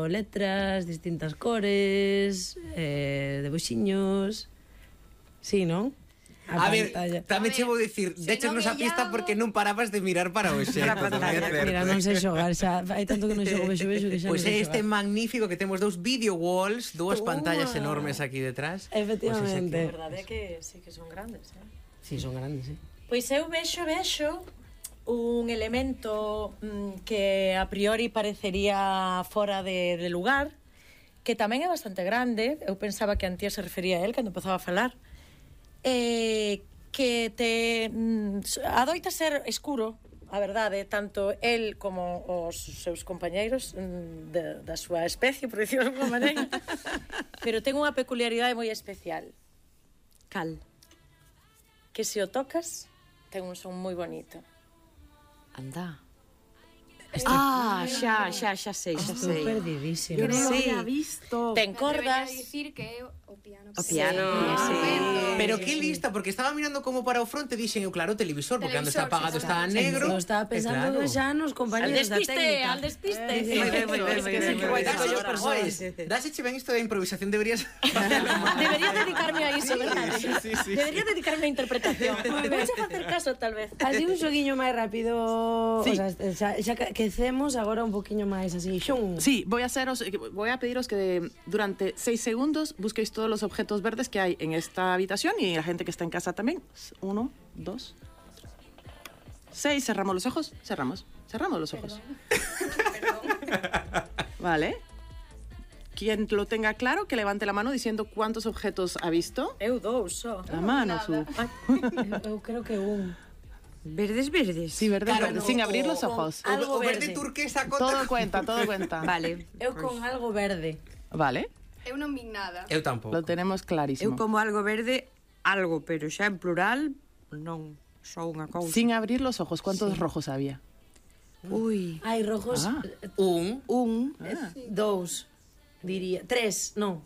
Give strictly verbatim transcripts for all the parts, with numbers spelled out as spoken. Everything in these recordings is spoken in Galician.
letras, distintas cores, eh, debuxiños... Sí, non? A, a ver, tamén che vou dicir, déchenos a pista porque non parabas de mirar para o xeito. Mira, non sei xogar, xa, hai tanto que non xogo vexo vexo que xa pues non sei xogar. Pois este magnífico que temos dous video walls, dúas pantallas enormes aquí detrás. Efectivamente. A verdade é que sí que son grandes, eh? Sí, son grandes, sí. Pois eu vexo, vexo un elemento mmm, que a priori parecería fora de, de lugar, que tamén é bastante grande. Eu pensaba que Antía se refería a él cando empezaba a falar. Eh, que te mm, adoita ser escuro, a verdade, tanto el como os seus compañeiros mm, de, da súa especie, por dicirlo de alguma maneira, pero ten unha peculiaridade moi especial. Cal? Que se o tocas ten un son moi bonito. Anda. Ah, xa, xa, xa sei, xa sei. Estou perdidísimo. Eu non lo Sí. había visto. Ten cordas. Dicir que é o piano. O piano, sí. Pero que lista, porque estaba mirando como para o fronte, dixen eu, claro, o televisor, porque cando está apagado está negro. Eu estaba pensando claro. xa nos Al compañeros da despiste, técnica. al despiste. Moi ben, moi ben, moi ben, moi ben. Dáseche ben isto da improvisación, deberías... Debería dedicarme a iso, verdade? Sí, sí, sí. Debería dedicarme a interpretación. Vouche facer caso, tal vez. Así un xoguiño máis rápido, Sí. o sea, xa, xa quecemos agora un poquinho máis así, xun. Sí, voy a haceros, voy a pediros que durante seis segundos busquéis todos los objetos verdes que hay en esta habitación y la gente que está en casa también. Uno, dos, seis. Cerramos los ojos. Cerramos. Cerramos los ojos. Vale. Quien lo tenga claro, que levante la mano diciendo cuántos objetos ha visto. Eu dous só. La mano, su. Eu creo que un. Verdes, verdes. Sí, verdes, Claro, verdes, o- sin abrir o- los ojos. O, Algo o verde verde. turquesa conta... Todo cuenta, todo cuenta. Vale. Eu con algo verde. Vale. Eu non vi nada. Eu tampouco. Lo tenemos clarísimo. Eu como algo verde, algo, pero xa en plural, non só unha cousa. Sin abrir los ojos, ¿cuántos rojos había? Ui, Hai rojos, Ah. eh, Un. un. dous, diría. Tres, non,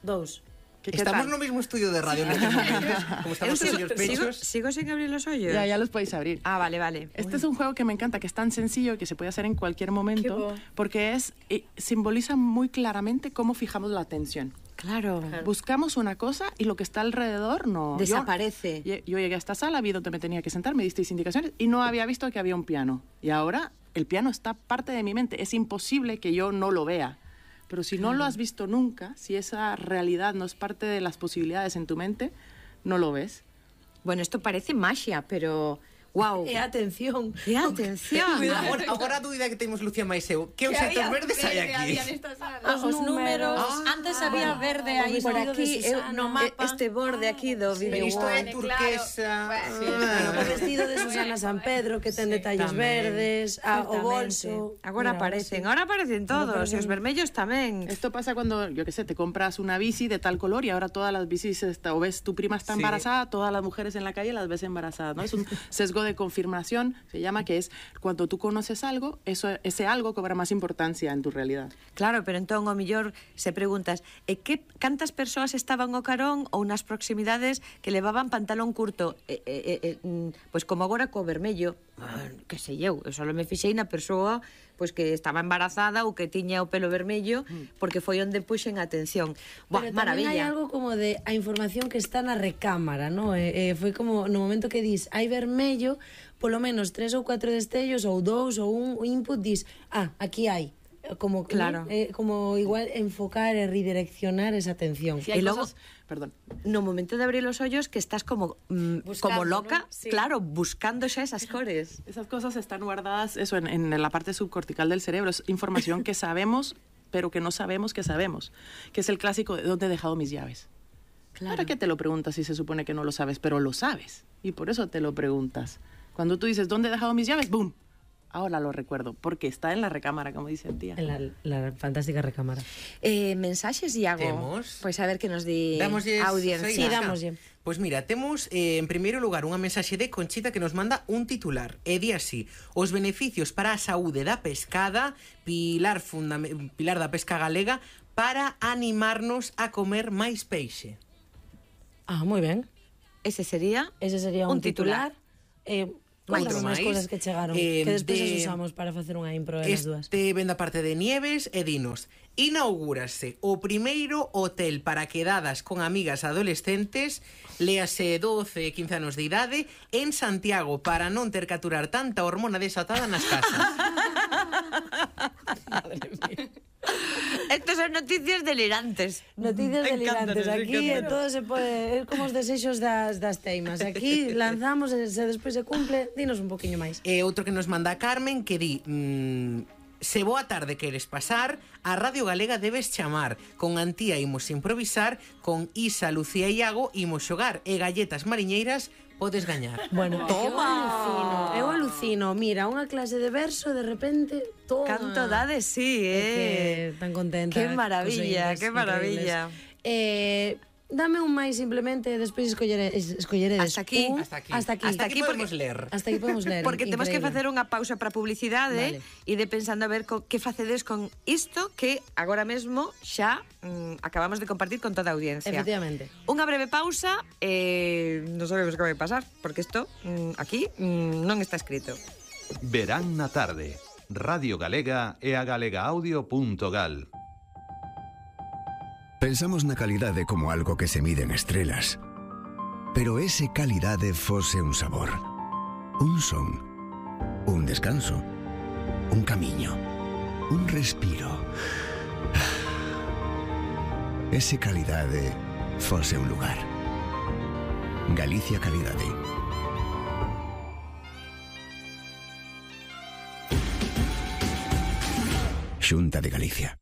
dous. ¿Qué, qué Estamos tal? no mismo estudio de radio nestes momentos, como Eu estamos sigo, en los sigo, pechos. sigo sin abrir los hoyos. Ya, ya los podéis abrir. Ah, vale, vale. Este es un juego que me encanta, que es tan sencillo y que se puede hacer en cualquier momento, bo. porque es eh, simboliza muy claramente cómo fijamos la atención. Claro. Buscamos una cosa y lo que está alrededor no... Desaparece. Yo, yo llegué a esta sala, vi donde me tenía que sentar, me disteis indicaciones y no había visto que había un piano. Y ahora el piano está parte de mi mente. Es imposible que yo no lo vea. Pero si no lo has visto nunca, si esa realidad no es parte de las posibilidades en tu mente, no lo ves. Bueno, esto parece magia, pero... Wow. E atención. ¡Qué atención! Agora, agora a dúbida que temos Lucía máis eu, que obxectos verdes hai aquí? Ah, os números, Ah, antes había verde aí o por vestido aquí, de eu, Susana. no mapa. Este borde aquí do Pero vídeo. isto é turquesa... O vestido de Susana San Pedro, que ten detalles tamén. verdes, a, o Exactamente. bolso. Agora Mira, aparecen, sí. ahora aparecen todos, aparecen. e os vermellos tamén. Esto pasa cuando, yo qué sé, te compras una bici de tal color y ahora todas las bicis, está, o ves tu prima está Sí. embarazada, todas las mujeres en la calle las ves embarazadas, ¿no? Es un sesgo de confirmación, se llama, que es cuando tú conoces algo, eso, ese algo cobra más importancia en tu realidad. Claro, pero entón o millor se preguntas, e que cantas persoas estaban ao carón ou nas proximidades que levaban pantalón curto, e, e, e, mm, pois como agora co vermello, ah, que sei eu, eu só me fixei na persoa pois que estaba embarazada ou que tiña o pelo vermello, porque foi onde puxen atención. Buah, Pero tamén hai maravilla. algo como de a información que está na recámara, ¿no? Eh, eh, foi como no momento que dis hai vermello, polo menos tres ou catro destellos ou dous ou un input dis, ah, aquí hai. Como, Claro. ¿no? eh, como igual enfocar e redireccionar esa atención. Si hay Y luego- cosas- perdón. No momento de abrir los hoyos que estás como mm, Buscando, como loca, ¿no? Sí. claro, buscando xa esas cores. Esas cosas están guardadas eso, en, en la parte subcortical del cerebro. Es información que sabemos, pero que no sabemos que sabemos. Que es el clásico de ¿dónde he dejado mis llaves? Claro. ¿Para qué te lo preguntas si se supone que no lo sabes? Pero lo sabes. Y por eso te lo preguntas. Cuando tú dices ¿dónde he dejado mis llaves? ¡Bum! Ahora lo recuerdo, porque está en la recámara, como dice el tía. En la, la fantástica recámara. Eh, mensaxes, Iago. Temos. Pois a ver que nos di Dámoslles, a audiencia. soy Sí, Isca. dámoslle. Pois mira, temos eh, en primeiro lugar unha mensaxe de Conchita que nos manda un titular. E di así: os beneficios para a saúde da pescada, pilar, fundam- pilar da pesca galega, para animarnos a comer máis peixe. Ah, moi ben. Ese sería Ese sería un, Un titular. titular. Eh, Contanos Outro máis máis. cousas que chegaron, Eh, que despois de- as usamos para facer unha impro de las dúas. Este ven da parte de Nieves e dinos: inaugúrase o primeiro hotel para quedadas con amigas adolescentes, léase doce, quince anos de idade, en Santiago, para non ter que aturar tanta hormona desatada nas casas. Estas son noticias delirantes. Noticias Encantan, delirantes. Aquí encantan. todo se pode... É como os desexos das, das teimas. Aquí lanzamos e se despois se cumple, dinos un poquinho máis. E outro que nos manda Carmen que di... Mmm, se boa tarde queres pasar, a Radio Galega debes chamar. Con Antía imos improvisar, con Isa, Lucía e Iago imos xogar, e galletas mariñeiras podes gañar. Bueno, eu alucino, eu alucino. Mira, unha clase de verso, de repente, todo... Canto dades, sí, É eh. que tan contenta. Qué maravilla, cos ointes, qué maravilla. increíbles. Eh, dame un máis simplemente, despois escollere, es- escolleredes Hasta aquí. un, Hasta aquí. hasta aquí. Hasta aquí porque- podemos ler. Hasta aquí podemos ler. Porque temos que increíble. facer unha pausa para publicidade Vale. e de pensando a ver co, que facedes con isto que agora mesmo xa mm, acabamos de compartir con toda a audiencia. Efectivamente. Unha breve pausa e non sabemos que vai pasar, porque isto mm, aquí mm, non está escrito. Verán na tarde. Radio Galega e a galegaaudio.gal. Pensamos na calidade como algo que se mide en estrelas. Pero ese calidade fose un sabor, un son, un descanso, un camiño, un respiro. Ese calidade fose un lugar. Galicia Calidade. Xunta de Galicia.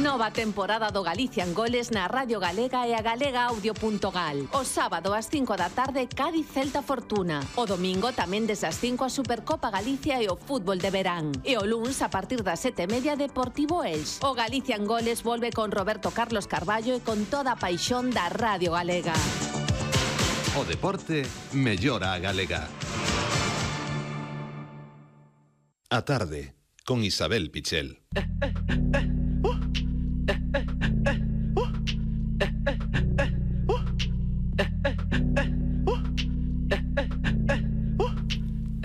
Nova temporada do Galicia en Goles na Radio Galega e a galegaaudio.gal. O sábado ás cinco da tarde, Cádiz Celta Fortuna. O domingo tamén desde as cinco a Supercopa Galicia e o fútbol de verán. E o luns a partir das sete e media Deportivo Elx. O Galicia en Goles volve con Roberto Carlos Carballo e con toda a paixón da Radio Galega. O deporte mellora a galega. A tarde, con Isabel Pichel.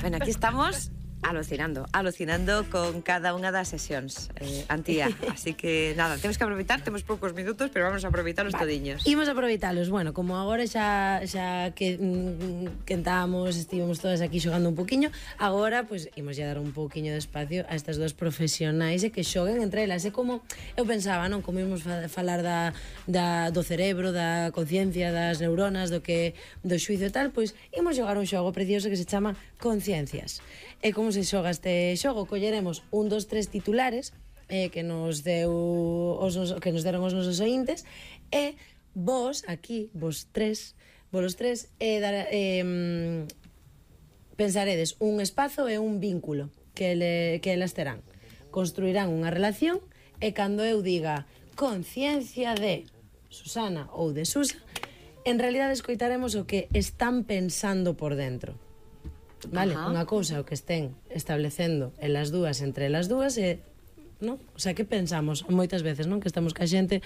Bueno, aquí estamos alucinando, alucinando con cada unha das sesións, eh, Antía. Así que, nada, temos que aproveitar, temos poucos minutos, pero vamos a aproveitar os todiños. Imos aproveitalos. Bueno, como agora xa xa que mm, quentamos, estivemos todas aquí xogando un poquiño, agora pois pues, imos ya dar un poquiño de espacio a estas dos profesionais e que xoguen entre elas. É como eu pensaba, non, como imos fa falar da, da do cerebro, da conciencia, das neuronas, do que do xuizo e tal, pois imos xogar un xogo precioso que se chama Conciencias. E como se xoga este xogo? Colleremos un dos tres titulares eh, que nos deu os nos, que nos deron os nosos ointes e vos aquí, vos tres, vos tres eh, dar, eh, pensaredes un espazo e un vínculo que, le, que elas terán. Construirán unha relación e cando eu diga conciencia de Susana ou de Susa, en realidade escoitaremos o que están pensando por dentro. Vale, Ajá. unha cousa o que estén establecendo elas dúas entre elas dúas e, non? O sea, que pensamos moitas veces, non? Que estamos ca xente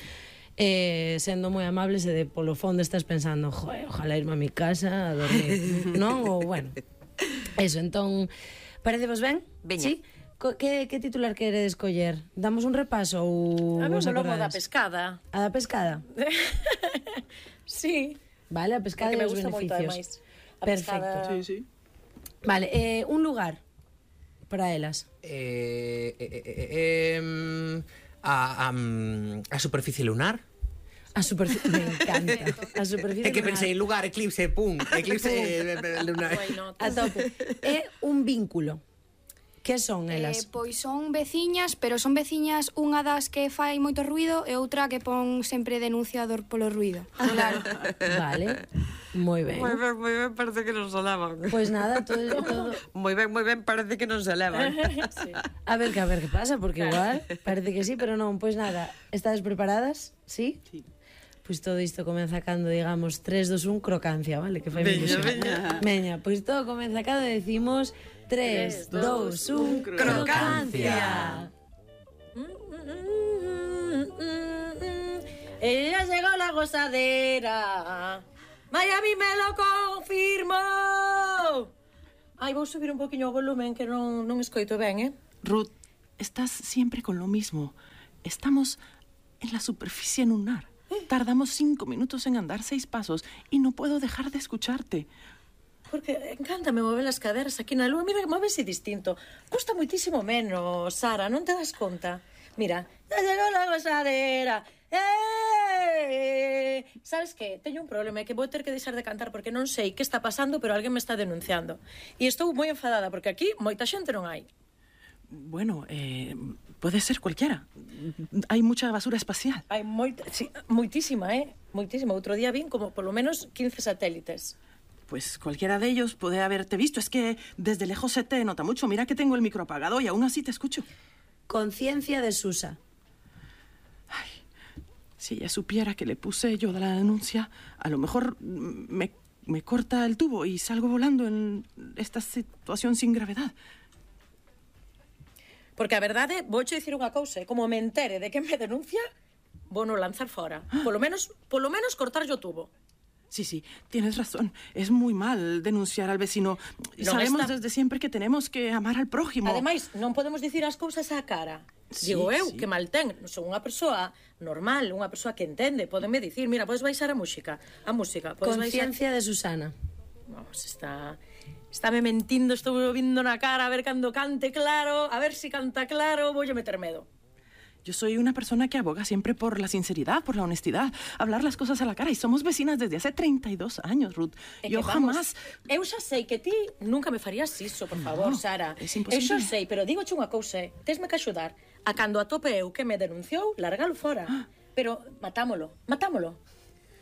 eh, sendo moi amables e de polo fondo estás pensando, joe, ojalá irme a mi casa a dormir, non? Ou, bueno, eso, entón, parecevos ben? Veña. Sí? Co- Que, que titular queredes coller? Damos un repaso ou A mí vos me lomo da acordades? pescada. A da pescada? Sí. Vale, a pescada Porque e me os gusta moito, beneficios. ademais. A Perfecto. pescada- Sí, sí. Vale, eh, un lugar para elas. Eh, eh, eh, eh, em, a, a, mm, a superficie lunar. A superficie, me encanta. A superficie É que lunar. pensei lugar, eclipse, pum, eclipse eh, eh, lunar. Why not? A tope. É un vínculo. Que son Eh, elas? pois son veciñas, pero son veciñas unha das que fai moito ruido e outra que pon sempre denunciador polo ruido. Claro. Vale. Moi ben. Moi ben, moi ben, parece que non se levan. Pois nada, todo, todo... Moi ben, moi ben, parece que non se levan. Sí. A ver, que a ver que pasa, porque igual parece que sí, pero non. Pois nada, estades preparadas? Sí? Sí. Pois todo isto comeza cando digamos tres, dos, un, crocancia, vale? Que fai Veña, ilusión. veña. Veña, pois todo comeza cando decimos tres, dos, un, crocancia. Ella llegó la gozadera. Miami me lo confirmó. Ai, vou subir un poquinho o volumen que non, non escoito ben, eh? Ruth, estás siempre con lo mismo. Estamos en la superficie lunar. Tardamos cinco minutos en andar seis pasos y no puedo dejar de escucharte. Porque encántame mover as caderas aquí na lúa. Mira, móvese distinto. Custa moitísimo menos, Sara, non te das conta? Mira, ya llegó la gozadera. ¡Eh! Sabes que? Teño un problema, é que vou ter que deixar de cantar porque non sei que está pasando, pero alguén me está denunciando. E estou moi enfadada porque aquí moita xente non hai. Bueno, eh, puede ser cualquiera. Hay mucha basura espacial. Hai moita, sí, moitísima, eh? Moitísima. Outro día vin como polo menos quince satélites. Pues cualquiera de ellos puede haberte visto. Es que desde lejos se te nota mucho. Mira que tengo el micro apagado y aún así te escucho. Conciencia de Susa. Ay, si ella supiera que le puse yo de la denuncia, a lo mejor me, me corta el tubo y salgo volando en esta situación sin gravedad. Porque a verdade, vouche dicir unha cousa, como me entere de que me denuncia, vou no lanzar fora. Polo menos, polo menos cortar yo tubo. Sí, sí, tienes razón. Es muy mal denunciar al vecino. Non Sabemos está... desde siempre que tenemos que amar al prójimo. Ademais, non podemos dicir as cousas á cara. Sí, Digo eu, sí. que mal ten. Son unha persoa normal, unha persoa que entende. Pódenme dicir, mira, podes baixar a música. A música, podes Conciencia baixar... de Susana. Vamos, está... Estáme mentindo, estou vindo na cara a ver cando cante claro, a ver si canta claro, voulle meter medo. Yo soy una persona que aboga siempre por la sinceridad, por la honestidad, hablar las cosas a la cara. Y somos vecinas desde hace treinta y dos años, Ruth. É Yo que, vamos, jamás... Eu xa sei que ti nunca me farías iso, por favor, No, Sara. es Eu imposible. xa sei, pero digoche unha cousa, eh. Tesme que axudar a cando atope eu que me denunciou, largalo fora. Pero matámolo, matámolo.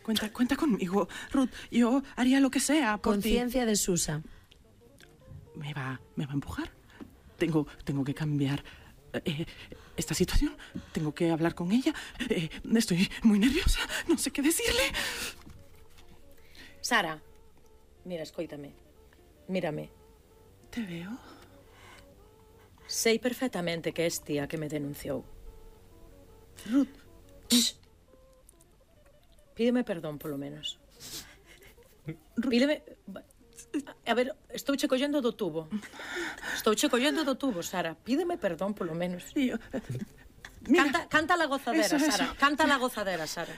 Cuenta, cuenta conmigo, Ruth. Yo haría lo que sea por ti. Conciencia de Susa. ¿Me va, me va a empujar? Tengo, tengo que cambiar eh, esta situación. Tengo que hablar con ella. Eh, estoy muy nerviosa. No sé qué decirle. Sara, mira, escoítame. Mírame. ¿Te veo? Sei perfectamente que es tía que me denunciou. Ruth. Shh. Pídeme perdón, polo menos. Pídeme... A ver, estou che collendo do tubo. Estou che collendo do tubo, Sara. Pídeme perdón, polo menos. Sí, yo... Mira. Canta, canta la gozadera, Eso, eso. Sara. Canta la gozadera, Sara.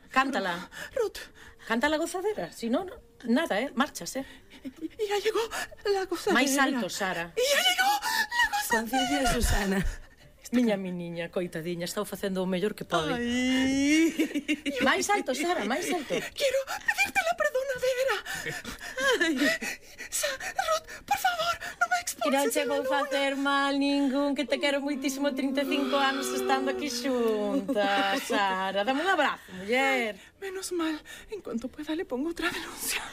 Cántala. Ruth. Canta la gozadera. Si no, no, nada, eh? Marchas, eh? Y ya llegó la gozadera. Máis alto, Sara. Y ya llegó la gozadera. Conciencia de Susana. Miña miniña, coitadiña, está facendo o mellor que pode. Ay. Máis alto, Sara, máis alto. Quiero pedirte la perdonadera. Ay. Sa Ruth, por favor, no me Que expulses. non che a la vou luna. facer mal ningún, que te quero moitísimo, trinta e cinco anos estando aquí xuntas, Sara. Dame un abrazo, muller. Menos mal, en cuanto pueda le pongo otra denuncia.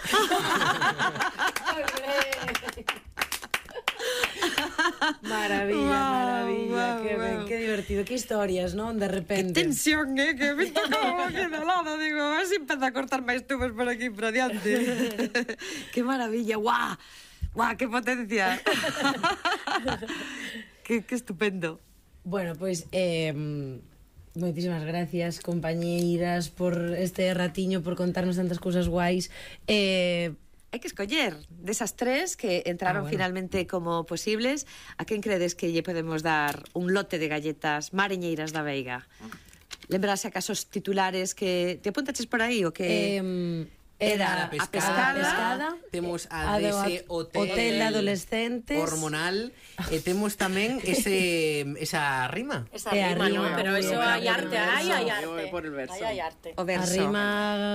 Maravilla, Guau, maravilla. guau, Qué ben, guau. qué divertido. Qué historias, ¿no? De repente. Tensión, eh, que me tocaba aquí de lado. Digo, a ver si empieza a cortar máis tubos por aquí por adiante. Qué maravilla, guau. Guau, qué potencia. qué, qué estupendo. Bueno, pues eh, moitísimas gracias, compañeiras, por este ratiño, por contarnos tantas cousas guais. Eh, Hai que escoller desas tres que entraron Ah, bueno. finalmente como posibles. A quen credes que lle podemos dar un lote de galletas mariñeiras da Veiga? Lembrase acaso os titulares que... Te apuntaches por aí o que... eh, Era era a pescada. a pescada, Temos a a do- dese hotel, hotel de adolescentes. hormonal e temos tamén ese esa rima. Esa E rima, arriba, ¿no? Pero muy eso bien, hay por el arte, ay, hay verso. Yo voy arte. por el verso. Ay, hay arte. O verso. Arrima,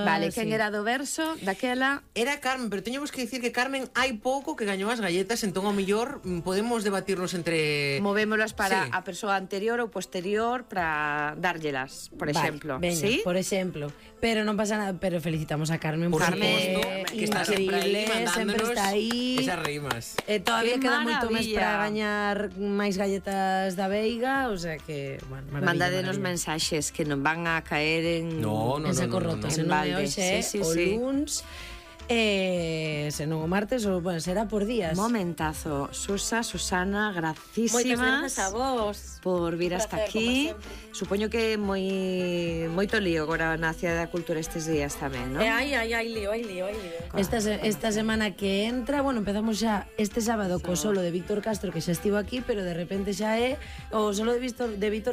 Vale, quen sí. era do verso daquela? Era Carmen, pero teñemos que dicir que Carmen hai pouco que gañou as galletas, entón ao mellor mm, podemos debatirnos entre... Movémolas para Sí. a persoa anterior ou posterior para dárllelas, por Vale, exemplo. veña, ¿Sí? por exemplo. Pero non pasa nada, pero felicitamos a Carmen Por porque suposto, é que está sempre aí increíble, sempre mandándonos está aí. esas rimas. Eh, todavía ¡Qué queda moito máis maravilla! para gañar máis galletas da Veiga, o sea que, bueno, maravilla. Mandadenos maravilla. mensaxes que non van a caer en... No, no, en no, saco no, no, roto, no. se En non é balde. hoxe, Sí, sí, o sí. luns. E se non o martes, o, bueno, será por días. Momentazo. Susa, Susana, Moitas gracísimas grazas a vos. por vir Un hasta placer, aquí. como sempre. Supoño que moi moito lío agora na Cidade da Cultura estes días tamén, non? E ai, ai, ai, lío, ai, lío, ai, lío. Esta, se- esta semana que entra, bueno, empezamos xa este sábado co solo de Víctor Castro, que xa estivo aquí, pero de repente xa é o solo de Víctor, de Víctor